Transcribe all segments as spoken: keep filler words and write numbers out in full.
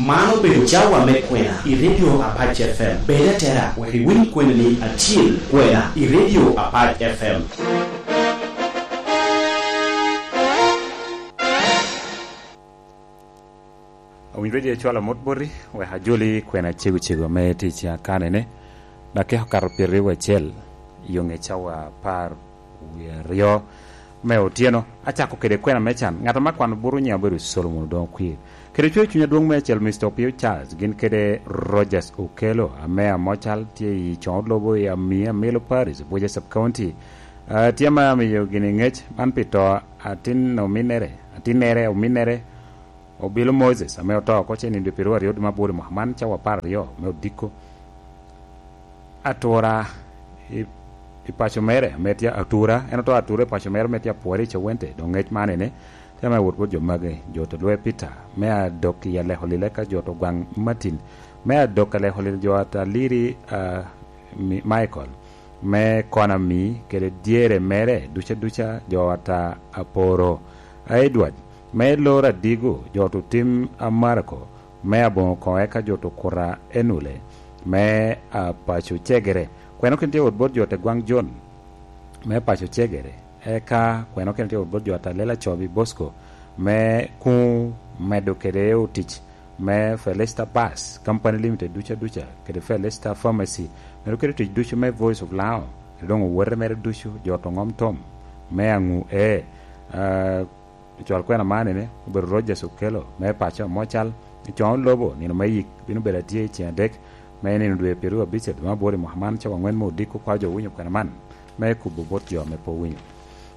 Man obedo cawa me kwena i Radio Apac F M. Bed atera wek iwiny kweni-ni acil kwena i Radio Apac F M. Owinyo redio ecwalo mot boti, wek ajoli kwena cego cego me tic akanene. Dakika okato pyeraryo acel, i ŋe cawa apar wie aryo me otyeno. Acako kede kwena me can. Ŋat ame akwano buto nyiŋe obedo Solomon Odoŋo Kwir. Kede cwer cuny adwoŋ me acel, Mister Opio Charles, gin kede Rogers Okello, ame amocal tye i Coŋo Lobo i Amii, Amilo Parish, Abuja Sub County. Ah, tye ame amiyo gini ŋec man pi to atin ominnere, atinnere, ominnere, Obilo Moses, ame oto oko ce nino dwe pyeraryo aryo dwe me aboro i mwaka man, cawa apar aryo me odiko. Atura i, i paco mere, ame tye atura, en oto atura i paco mere, ame tye apwore i Cawente, doŋ ŋec man ene, tye ame wot bot jo magi, jo to lwe Peter, me adok i aleko lile ka jo to gwaŋ Martin, me adok aleko lil jo ata Liri, ah, Mi-, Michael, me Konami, kede dyere mere duca duca, jo ata Aporo, a Edward, me Lora Digo, jo to tim a Marco, me aboŋo koŋ eka jo to kuta Enule, me a paco Cegere. Kweno kin tye wot bot jo te gwaŋ Jon, me paco Cegere. Eka kweno kin tye wot bot jo ata Lela Cobi Bosco, me kuŋ medo kede otic, me Felista Bus Company Limited duca duca, kede Felista Pharmacy, medo kede tic ducu me Voice of Lao, kede doŋ owote mere ducu, jo to ŋom tom, me aŋu e, ah, Ocwal kwena man ene, obedo Rogers Okello, me paco Amocal, i Coŋo Lobo, nino me yik bino bedo atye i ceŋ adek, me nino dwe pyeraryo abicel dwe me aboro i mwaka man, cawa aŋwen me odiko. Kwa jo winyo kwena man, me kubo bot jo ame pe owinyo.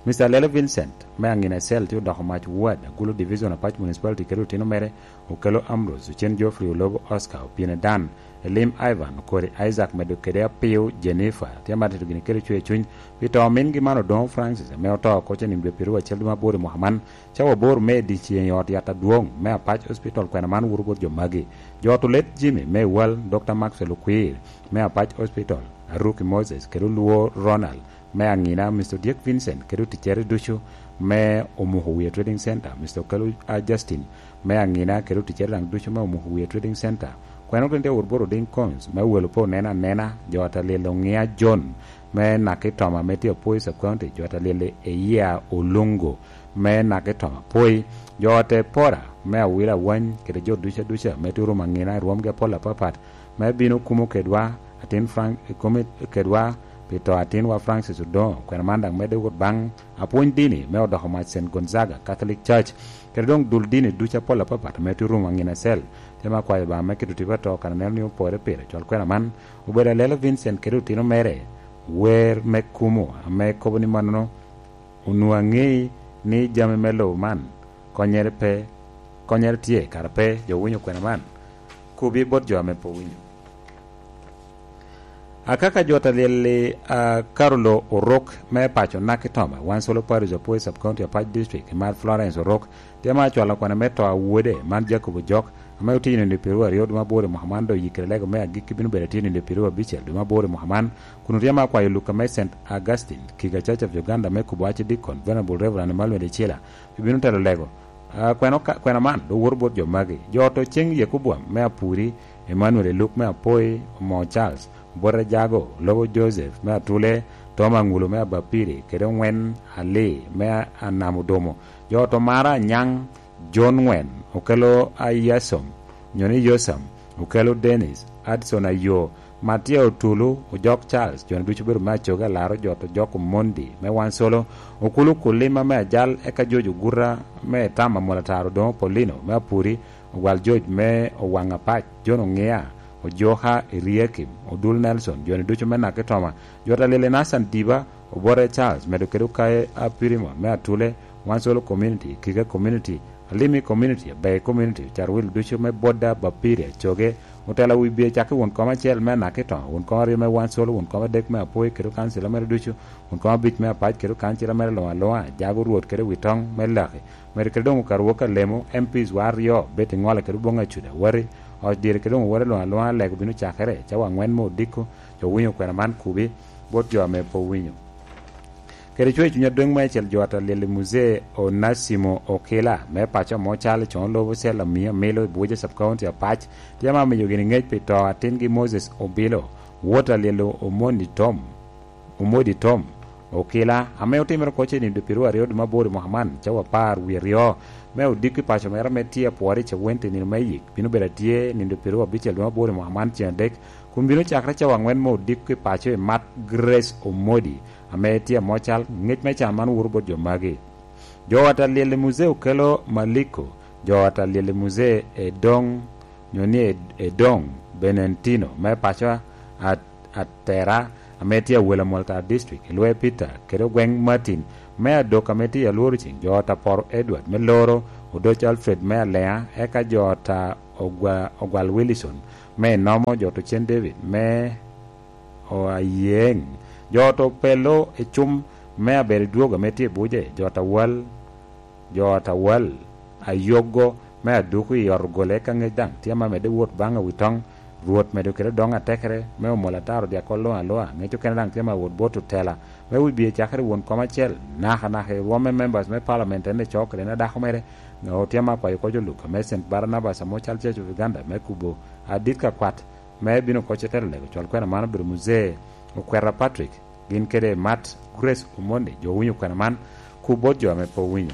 Mister Lele Vincent, me Angina Cell, tye odoko mac ward, Agulu Division, Apac Municipality, kede otino mere, Okello Ambrose, Ocen Geoffrey, Olobo Oscar, Opine Dan, Elim Ivan, Okori Isaac, medo kede Apiu Jennifer, tye amatito gini kede cwer cuny pi to omingi man Odoŋo Francis, ame oto oko ce nino dwe pyeraryo acel dwe me aboro i mwaka man, cawa aboro me dyeceŋ i ot yat adwoŋ me Apac Hospital. Kwena man wuro bot jo magi: Jo ot Olet Jimmy me Ewal, Doctor Maxwell Okwir me Apac Hospital, Aruki Moses kede Olwo Ronald me Angina, Mister Odyek Vincent kede oticcere ducu me Omuko Wiye Trading Center, Mister Okello, a, Justin me Angina kede oticcere daŋ ducu me Omuko Wiye Trading Center. Kwena gin tye wot bot Oding Cons me Welo pe oneno anena, jo ata Lilo Ŋia John me Nakitoma me tye Apoi Sub County, jo ata Lili Eyia Olungo me Nakitoma Apoi, jo ata Pora me Awila Awany, kede jo duca duca me tye orumo Angina i rwomgi apol apapat, me bino kumo kedwa, atin Frank, kumo kedwa pi to atinwa Francis Odoŋo. Kwena man daŋ medde wot baŋ apwony dini me odoko mac Saint Gonzaga Catholic Church, kede doŋ dul dini ducu apol apapat ame tye orumo Angina Cell. Tye me akwayo Obaŋa me keto tipo ato kan aneno ni opore pire. Cwal kwena man obedo Alelo Vincent kede otino mere, wer me kumo, ame kobo ni mannono, onwoŋo aŋei ni jami me lobo man konnyere pe, konnyere tye, kara pe jo winyo kwena man, kobi bot jo ame pe owinyo. Akaka jo ta lyel-li, a, Karulo Orok me paco Nakitoma, Wansolo Parish, Apoi Sub County, Apac District, i mar Florence Orok, tye ma acwalo kwena me to a wode, man Jacob Ojok, ame otye i nino pyeraryo aryo dwe me aboro i mwaka man, dok oyikere lego me agikki bino bedo atye i nino pyeraryo abicel dwe me aboro i mwaka man, kun otye ma akwayo Luka me Saint Augustine, Kiga Church of Uganda, me kubo Archdeacon, Venerable Reverend Emmanuel Ecila, pi bino telo lego. A, kweno ka, kwena man, dok woto bot jo magi. Jo oto ceng Yekoboam me Apuri, Emmanuel Eluk me Apoi, Omo Charles, Obote Jago, Lobo Joseph me Atule, Tom Aŋulo me Abapiri, kede Oŋwen Ali me Anam Odomo. Jo oto Mara Anyaŋ, John Ŋwen, Okello Ayasom, nyo ni Yosam, Okello Dennis, Adson Ayo, Matia Otulu, Ojok Charles, jo-ni ducu obedo me Acoge Alaro, jo oto Ojok Omondi me Wansolo, Okulu Kulima me Ajal, eka George Oguta me Etama, Molataro Odoŋo Paulino me Apuri, Ogwal George me Owaŋ Apac, John Oŋia, Ojoka Eriakim, Odul Nelson, jo-ni ducu me Nakitoma, jo ta Lili Nathan Diba, Obote Charles, medo kede Okaye Apirimon me Atule, Wansolo Community, Kiga Community, Alimi Community, Abei Community, Carwil ducu me Boda, Bapiri, Acoge, otelo wi bye cakki won kom acel me Nakitoma, won kom aryo me Wansolo, won kom adek me Apoi kede okancila mere ducu, won kom abic me Apac kede okancila mere luŋ aluŋa, Jago Rwot kede Witoŋ me Laki, medo kede doŋ Okarwok Alemo, M Ps wa aryo, Betty Ŋola kede Oboŋ Acuda, Wati, oc dire kede doŋ Owati luŋ aluŋa, lego bino cakere, cawa aŋwen me odiko, jo winyo kwena man kubi, bot jo ame pe owinyo. Kede cwe i cuny adweŋ me acel jo ata lyel i Muzee Onasimo Okila me paco amo cal i coŋo lobo cel amio amilo i Buoja Sub County Apac, tye ma miyo gini ŋec pi to atingi Moses Obilo, wot a lyel Omondi Tom, Omodi Tom Okila, ame otimere oko cenido piru aryo dwe me aboro i mwaka man, cawa apar wie aryo, me odiko i paco mere ame tye apwore i Cawenti nino me yik, bino bedo atye nido piru abicel dwe me aboro i mwaka man ceng adek, kun bino cakere cawa angwen me odiko i paco i Mat Grace Omodi, ame tye amo cal ŋec me can man wuro bot jo magi. Jo ata lyel i Muzee Okelo Maliko, jo ata lyel i Muzee Edong, nyo ni Ed-, Edong Benentino, me paco a-, Atera, ame tye awelo Molta District, i Lwe Peter, kede Ogweng Martin, me Adok, ame tye i Alworo Ceng, jo ata Poro Edward, me Loro, Odoc Alfred, me Alea, eka jo ata Ogwa-, Ogwal Wilson, me Inomo, jo ata Ocen David, me o Ayeŋ, jo ata Opelo i Cum, me Abel Dwogo, ame tye i Buje, jo ata Wal, jo ata Wal, Ayogo, me Aduku i ot ogole, eka ŋec daŋ tye ma medde wot baŋ Awitoŋ, Rwot medo kede doŋ atekere, me omol ataro dyakol luŋ aluŋa, ŋec okene daŋ tye ma wot bot otela, me wibie cakere won kom acel, naka naka i rwom me members me parliament en ecoo kede en adako mere, ŋeo tye ma kwayo koc oluk, ame Saint Barnabas ame ocal Church of Uganda, me kubo adit ka kwat, me bino oko cetero lego cwal kwena man obedo Muzee Okwera Patrick, gin kede Mat Grace Omondi, jo owinyo kwena man, ku bot jo ame pe owinyo.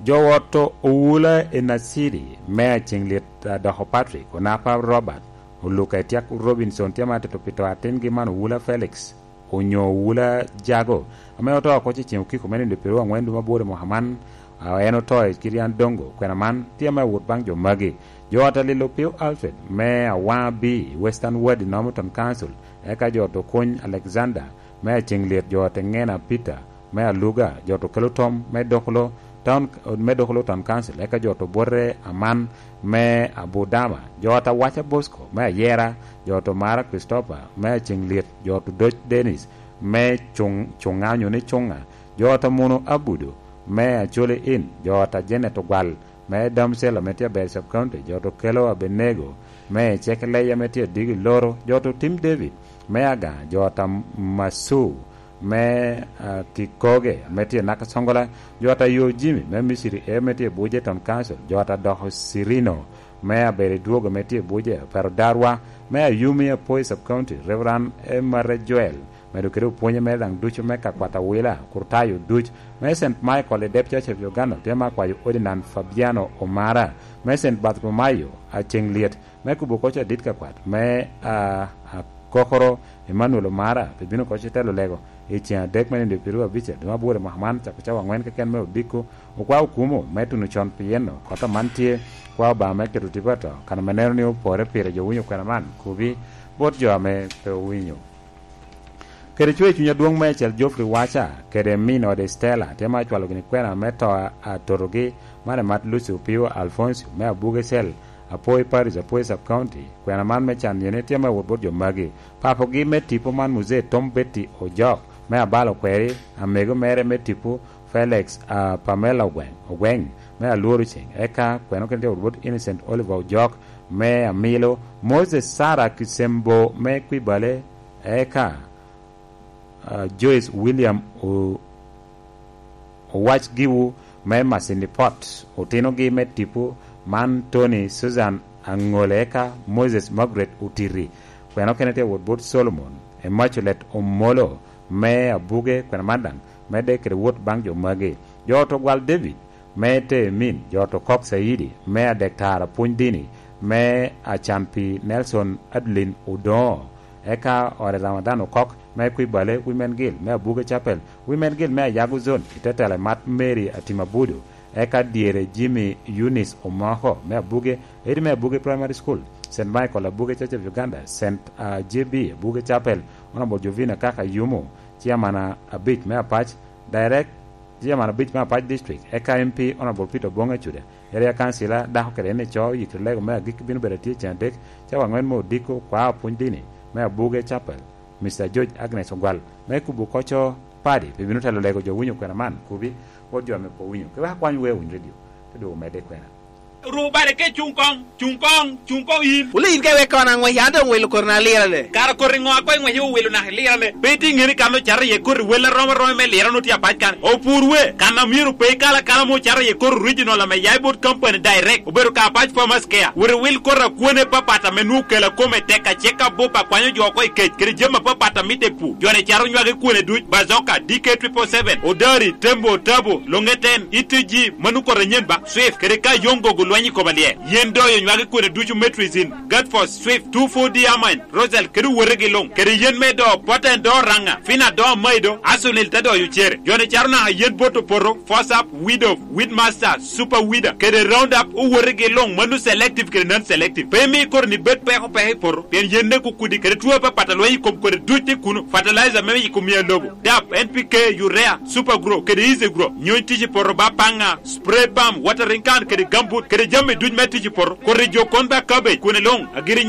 Jo ot Owula i Nacidi, me Aceŋ Lyet Adoko Patrick, Onapa Robert, Oluka Etiak Robinson, tye ma tito pi to atingi man Owula Felix, onyo Owula Jago, ame oto oko cecen okiko me nindo piru aŋwen dwe me aboro i mwaka man, a, en oto i Kirian Dongo, kwena man tye ame awot baŋ jo magi. Jo ot Alil Opio Alfred, me Awaŋa B, Western Ward i Northern Council, eka jo ot Okony Alexander, me Aceŋ Lyet, jo ot Eŋena Peter, me Aluga, jo ot Okelo Tom, me Dokolo Town, me Dokolo Town Council, eka jo ot Obote Aman, me Abudama, jo ot Awaca Bosco, me Ayera, jo ot Omara Christopher, me Aceŋ Lyet, jo ot Odoc Dennis, me Cuŋ-, Cuŋa onyo ni Cuŋa, jo ot Amuno Abudo, me Acholi Inn, jo ot Janet Ogwal, me Damsel ame tye Abedo Sub County, jo ot Okelo Abenego, me Cekeleya ame tye Adigi Loro, jo ot Otim David, me Aga, jo ot Masu, me, ah, Kikoge ame tye Nakasongola, jo ot Ayo Jimmy, me Misiri E ame tye Buje Town Council, jo ot Adoko Sirino, me Abedo Dwogo ame tye Buje, Pero Darwa, me Ayumi Apoi Sub County, Reverend Emare Joel, medo kede opwonye mere daŋ ducu me ka kwat awila, kurtayo duc, me Saint Michael i Dep Church of Uganda, tye ma kwayo Ordinand Fabiano Omara, me Saint Bartholomew, Aceŋ Lyet, me kubo koc adit ka kwat, me, a, Akokoro Emmanuel Omara, pe bino koc i telo lego, i ceŋ adek me nindo piru abicel, dwe me aboro i mwaka man, cako cawa aŋwen keken me odiko, okwa okumo, me tuno con pi yeno, kota man tye, kwa Obaŋa me keto tipo ato, kan ame neno ni opore pire jo winyo kwena man, kubi, bot jo ame pe owinyo. Kede cwe i cuny adwoŋ meicel Geoffrey Wacha, kede min ode Stella, tye ma acwalo gini kwena me to a totogi, man emat Lucy Opio Alfonso, me Abuge Cell, Apoi Parish, Apoi Sub County. Kwena man me can yene tye me wot bot jo magi. Papogi me tipo man Muzee Tom Betty Ojok, me Abalo Kweri, amego mere me tipo Felix, a, Pamela Ogweng, Ogweng, me Alworo Ceng. Eka kwena okene tye wot bot Innocent Oliver Ojok, me Amilo, Moses Sarah Kisembo, me Kwibale, eka, ah, Joyce William O-, Owac Giwu me Masindi Pot, otinogi me tipo man Tony Susan Aŋole eka Moses Margaret Otiri. Kwena okene tye wot bot Solomon, Immaculate Omolo me Abuge, kwena man daŋ medde kede wot baŋ jo magi. Jo ot Ogwal David, me Teemin, jo ot Okok Caidi, me Adektar Apwony Dini, me Acan Pi Nelson Adeline Odoŋo, eka ot Ramadan Okok, me Kwibale Women Guild, me Abuge Chapel, Women Guild me Ayago Zone, i te telo emat Mary Atim Abudo, eka dyere Jimmy Eunice Omoko, me Abuge, edi me Abuge Primary School, Saint Michael Abuge Church of Uganda, Saint, ah, J B Abuge Chapel, Honorable Jovina Kaka Yumo, Chairman a-, abic me Apac, Direct Chairman abic me Apac District, eka M P Honorable Peter Obong Acuda, area councillor dako kede en ico, oyikere lego me agikki bino bedo atye cen adek, cawa angwen me odiko, kwao pwony dini me Abuge Chapel, Mister George Agnes Ogwal, me kubo koco padi, pe bino telo lego jo winyo kwena man, kubi, wot jo ame pe owinyo. Ke wek akwany wea winy radio, te dwogo medde kwena. Ru bale ke cuŋ koŋ, cuŋ koŋ, cuŋ koŋ yin. Wule yin ka iwek kono aŋwec, an doŋ welo koti na lirane. Kara koti ŋo a koŋ iŋwece owelo naka ilirane? Pe itye ŋeni kan ocato iye koti wel arom aroma me lirane otye apac kan. Opur we, kan a myero pe ikal akala ma ocato iye koti original ame ya i bot company direct, obedo ka apac farmers care. Wot iwil koti akwane papat ame nwoŋo kela kome tek acek abup akwanyo jo oko i kec, kede jami apapat a mitte i pur. Joni caro nywage kwone duc, Bazooka, D K triple seven, Odari, Tembo, Tabo, Longeten, E T G, mano koti anyen ba, Swift, kede ka Yongo gulweny i kom alyel. Yen doyo nywage kwone ducu Metrizin, Gatfos, Swift, two four D Amine, Rosel, kede owotegi luŋ, kede yen me do, Poten do Raŋa, Fina do Amaido, Asunil te doyo cere. Joni caro naka yen bot opoto, Fosap, Widow, Weedmaster, Super Weeder, kede Roundup, owotegi luŋ, mano selective kede non-selective. Pe imi koti ni bed peko peko i poto, pien yen ne kukudi, kede two apapat a lweny i kom kodi duc tye kuno, fertilizer me yiko mia lobo, dap, N P K, urea, Super Grow, kede Easy Grow, nyony tic i poto ba paŋa, spray pump, watering can, kede gambut, kede jami duc me tic i poto, koti jo kon ba cabbage, kwone luŋ, agiri